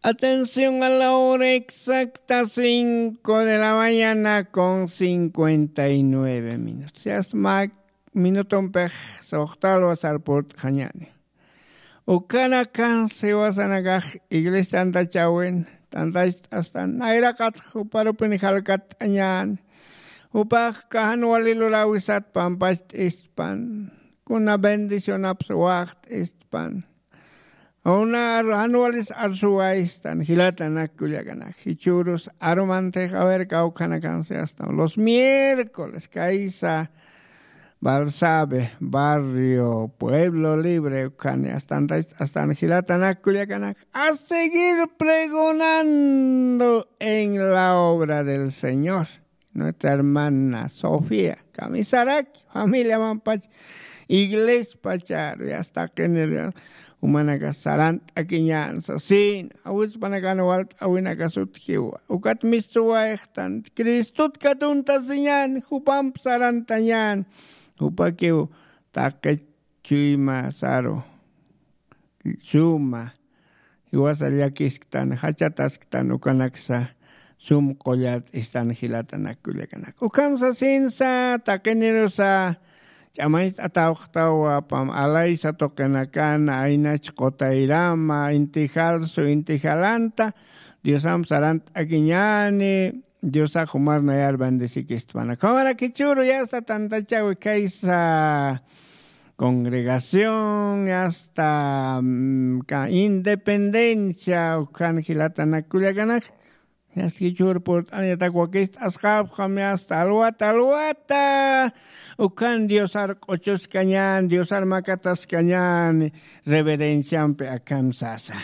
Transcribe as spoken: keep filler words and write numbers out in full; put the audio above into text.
Atención a la hora exacta, cinco de la mañana con cincuenta y nueve minutos. Ya está, minutumpix suxtalwa sarpurt'xañäni. Ukanakan siwasanakax iglesia tantachawin, tantacht'astan nayraqatx juparupin jalkatt'añäni. Jupax kajan wali lurawisat pampacht'ispan, kuna bendicionaps waxt'ispan. Una jan walis arsuwaystan, jilatanak kullakanak. Jichhürus arumantix, a ver, kawkhanakan siwastan los miércoles kaysa Balsabe, barrio Pueblo Libre, ukhani astan, astan jilatanak kullakanak, a seguir pregonando en la obra del Señor. Nuestra hermana Sofía Camisaraki, familia mampach, iglesia pacharu, ya está, taqinir, umanaka sarant'akiñän sasin, awispanakan walt'awinaka sutjiwa. Ukat mistuwayxtan, Cristot katuntasiñän, jupamp sarantañän, jupakiw taqi chuyma saru, suma, jiwasa llakisktan, jachatasktan, ukanaksa sum qullart'istan jilatanak kullakanak. Ukham sasinsa, taqinirusa, ch'amañcht'atawxtawa pam alaysa tuqinakan, aynach qutayrama, inti jalsu, inti jalanta, Diosamp sarant'akiñäni, Diosax jumar nayar bendesikistpana. Ukhamarakichhüru yasta tantachawi kaysa congregación, yasta, mm, ka-, independencia, ukhan jilatanak kullakanak. Yasta jichhür purt'aniyatak wakist'asxapxam, yasta alwata, alwata. Ukhan Diosar q'uchuskañän, Diosar makataskañän, reverenciampi akham sasa.